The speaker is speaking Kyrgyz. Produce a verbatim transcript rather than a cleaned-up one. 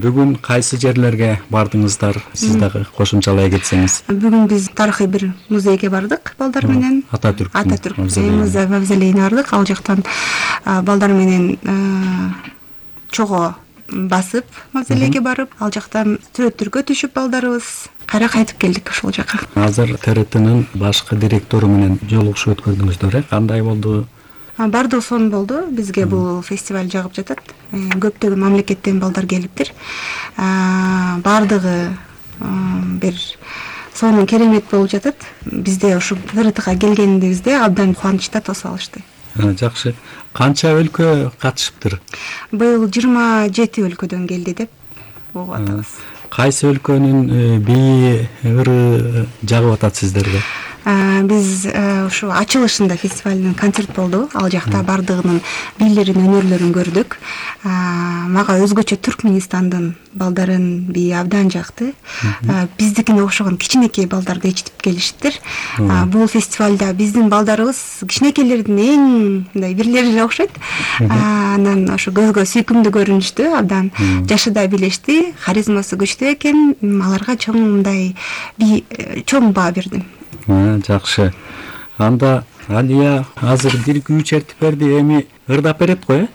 Бүгүн кайсы жерлерге бардыңыздар? Сиз дагы кошумчалай кетсеңиз. Бүгүн биз тарыхый бир музейге бардык балдар менен. Ататүрк Ататүрк мавзолейине бардык. Ал жактан балдар менен чого басып мавзолейге барып, ал жактан сүрөттөргө түшүп балдарыбыз кайра кайтып келдик ошол жака. Азыр Т Р Т'нын башкы директору менен жолугушуп өткөрдүңүздөр, э? Кандай болду? Бардыгы сонун болду. Бизге бул фестиваль жагып жатат. Көптөгөн мамлекеттен балдар келиптир. Бардыгы бир сонун керемет болуп жатат. Бизде ушу Т Р Тга келгенибизде абдан кубанычта тосуп алышты. Жакшы. Канча өлкө катышыптыр? Быйыл жыйырма жети өлкөдөн келди деп угуп атабыз. Кайсы өлкөнүн бийи, ыры жагып атат сиздерге? Биз ушу ачылышында фестивалдын концерт болду. Ал жакта бардыгынын бийлерин, өнөрлөрүн көрдүк. Мага өзгөчө Түркмөнстандын балдарын бийи абдан жакты. Биздикине окшогон кичинекей балдарды ичтип келишиптир. Бул фестивалда биздин балдарыбыз кичинекейлердин эң мындай бирлерине окшойт. Анан ошо көзгө сүйкүмдүү көрүнүштү, абдан жашыда билешти, харизмасы күчтүү экен. Аларга чоң мындай би чоң баа бердим. Жакшы. Анда Алия азыр бир күү чертип берди, эми ырдап берет го, э?